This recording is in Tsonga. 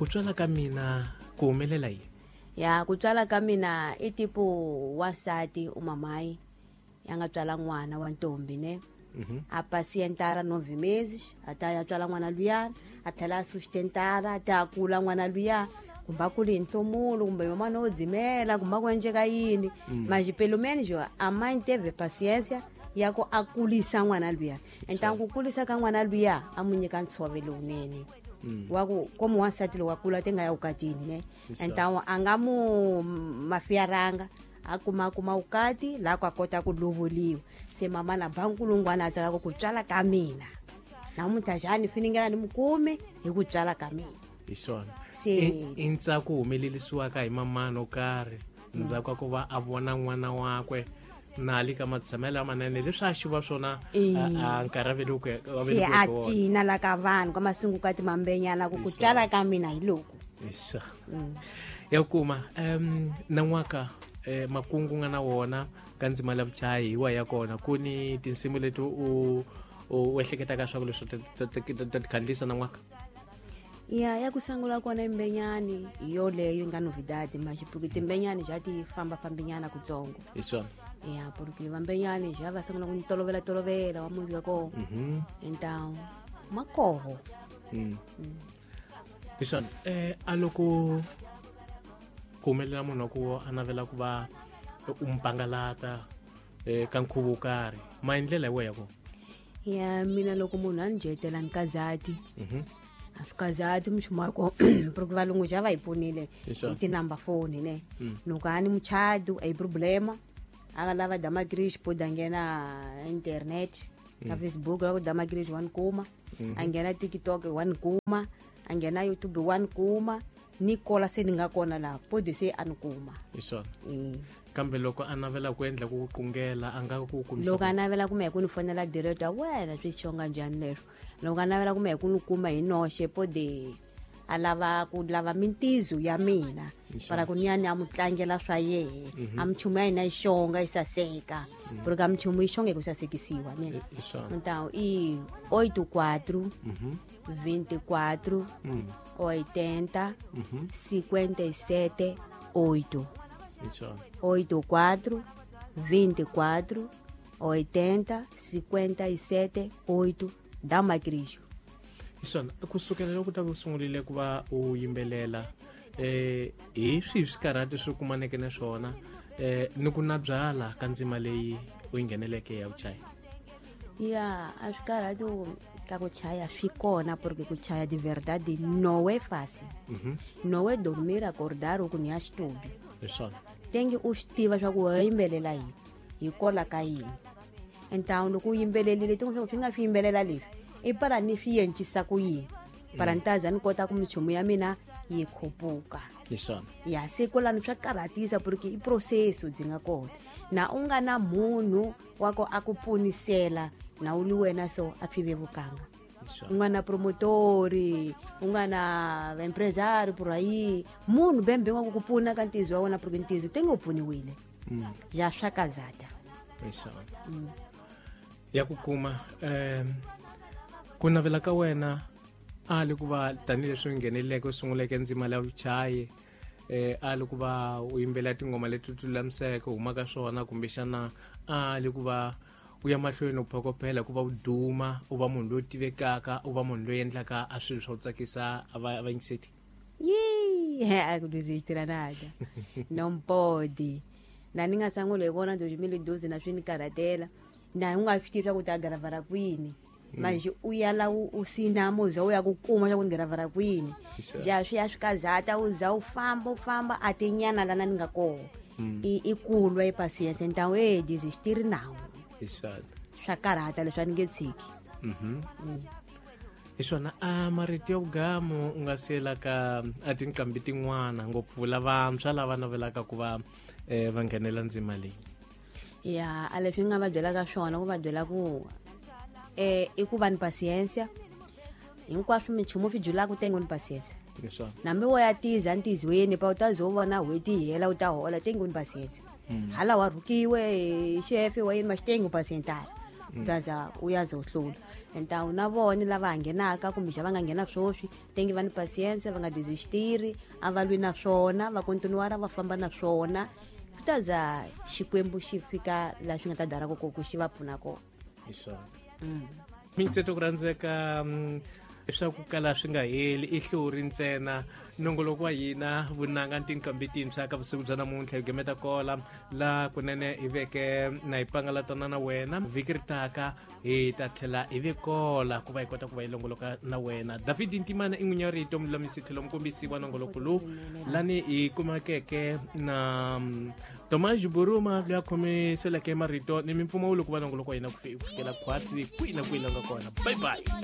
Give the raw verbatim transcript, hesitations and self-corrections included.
Ku tswala ka mina ku humelela yini? Ya ku tswala ka mina i tipo wansati umamai ya nga tswala n'wana wa ntombi ne. Mm-hmm. A pacientara nove meses até ya tswala n'wana luya, a tlhela a sustentara até a kula n'wana luya, kumbe a kule hi nhlomulo kumbe yomana wo dzimela kumbe ku endleka yini. Mm. Mas pelo menos a mãe teve paciência ya ku a kulisa n'wana luya. Então ku kulisa ka n'wana luya a mu nyika ntshovelo lowunene. Mm. Wa ku como wansati lowu a kula te nga ya vukatini ne. Isso. Então a nga mu mafiaranga a kuma kuma vukati laha ku a kota ku lovoliwa. Se mama na ba nkulungwana a tsaka ku tswala ka mina namuntlha njhani finingela ni mukumi hi ku tswala ka mina. Hi swona. Se I i ntsako humelerisiwaka hi mamana wo karhi ndzhaku ka ku va a vona n'wana wakwe na le ka matshamelo lamanene leswi a xiva swona E. a nkarhi a velekiweke a se a velekiweke wona. cina la ka vanhu ka masungukati mambenyana ku ku tswala ka mina hi loku. Isa. Ya kuma um nan'waka eh, makungu nga na wona ka ndzima la vuchayi hi wa ya kona ku ni tinsimu leti u u ehleketaka swa ku leswi ta ti khandlisa nan'waka? Ya ya ku sungula kona imbenyani hi yoleyo yi nga novidade mas porque timbenyani ja ti fambafambinyana kutsongo. Hi swona. Ya porque vambenyani ja va sungula ku ni tolovela tolovela wa muzi ka kona. Mhm. Então makoho. Mm. Hi swona. Eh a loko ku humelela munhu wa ku a navela ku va u mpangalata eh ka nkhuvo wo karhi ma hi ndlela hi wehe ya kona? Ya mina loko munhu a ni dyetela ni kazati. Mhm. A swi kazati minchumu wa kona porque valungu ja va hi pfunile Hi swona. hi tinumber phone ne. Mm. Loko a ni muchado a hi problema a nga lava Damakrixi pode a nghena internet ka Facebook la ku Damakrixi wa ni kuma, a nghena TikTok wa ni kuma, a nghena YouTube wa ni kuma, ni kola se ni nga kona laha pode se a ni kuma. Hi swona. Mm. Kambe loko a navela ku endla ku qungela a nga ku kumisa Loko a navela ku mehe ku ni fonela direct a wena swi xonga njhani leswo. Loko a navela ku mehe ku ni kuma hi noxe pode a lava ku lava mintizo ya mina para ku ni ya ni ya mu tlangela swa yehe a minchumu ya hina yi xonga yi saseka porque a minchumu yi xonga hi ku sasekisiwa ne. Hi swona. Então i oito quatro Mhm. vinte e quatro Mm. oitenta Mhm. cinquenta e sete oito. Hi swona. Oito quatro vinte e quatro oitenta cinquenta e sete oito Damakrixi. Hi swona. Kusukela loko ta ku sungurile ku va u yimbelela eh hi swihi swikarhati swi kumaneke na swona eh ni ku na byala ka ndzima leyi u yi ngheneleke ya vuchayi? Ya a swikarhati ka ku chaya swi kona porque ku chaya de verdade não é fácil. Mhm. Não é dormir acordar ku ni ya xitudio. Hi swona. Tenge u swi tiva swa ku wa yimbelela yini hi kola ka yini. Então loko u yimbelerile tin'wana swa ku swi nga swi yimbelela leswi i para ni swi encisa ku yini para ni ta za ni kota ku minchumu ya mina yi khupuka. Hi swona. Ya se kwalano swa karhatisa porque i processo byi nga kona na u nga na munhu wa ku a ku pfunisela na u li wena so a swi vevukanga. Hi swona. U nga na promotori u nga na empresario por aí munhu bembe wa ku ku pfuna ka ntizo wa wena porque ntizo te nge u pfuniwile. Mm. Ya swa kazata. Hi swona. Ya ku kuma um ku navela ka wena a li ku va tanihileswi u ngheneleke u sunguleke ndzima la vuchayi eh a li ku va u yimbelela tinghoma leti ti lulamiseke u huma ka swona kumbexana a li ku va u ya mahlweni u phokopela ku va u duma u va munhu loyi tivekaka u va munhu loyi endlaka a swilo swa ku tsakisa a va vayingiseti? Yee, a ku desistir nada. Não pode. Na ni nga sungula hi kona dois mil e doze na swi ni karhatela na u nga swi tivi swa ku ta gravara kwini. Mas u ya la u, u sina muza u ya ku kuma swa ku ni gravara kwini. Hi Ja swi ya swi kazata u za u famba u famba a ti nyana lana ni nga kona. I i kulwa i paciência então e desistir não. Hi swona. Swa karhata leswi a ni nge tshiki. Mhm. Hi swona. A marito ya vugamu u nga siyela ka a tinqambi tin'wana ngopfu lavantshwa lava navelaka ku va eh, va nghenela ndzima leyi? Ya a leswi ni nga va byelaka swona ku va byela ku eh i ku va ni paciência hinkwaswo minchumu swi julaka tenge ni paciência. Hi swona. Nambi wo ya tiza ntizweni pa u ta ze u vona n'hweti yi hela u ta hola tenge ni paciência. Hala wa rhukiwe xefe wa yini ma xitenge u pacientara u ta za u ya ze u hlula. Então na vona lava nghenaka kumbe xa va nga nghena swoswi tengi va ni patience va nga desistiri a va lwi na swona va continuara va famba na swona kutaza Xikwembu xi fika la swi nga ta dara ku ku xi va pfuna kona. Hi swona. Minseto ku rhandzeka swa ku kala swi nga heli i hluri ntsena nongoloko wa hina vunanga tinqambi tintshwa ka vusiku bya namuntlha hi gemeta kola la kunene hi veke na hi pangalatana na wena vhiki ri taka hi ta tlhela hi ve kola ku va hi kota ku va hi longoloka na wena. David Ntimana i n'winyi wa rito mululamisi tlhelo mukombisi wa nongoloko lowu lani hi kumakeke na Tomas Buruma loyi a khomiseleke marito ni mimpfumawulo ku va nongoloko wa hina ku fikela khwatsi kwihi na kwihi la nga kona. Bye bye.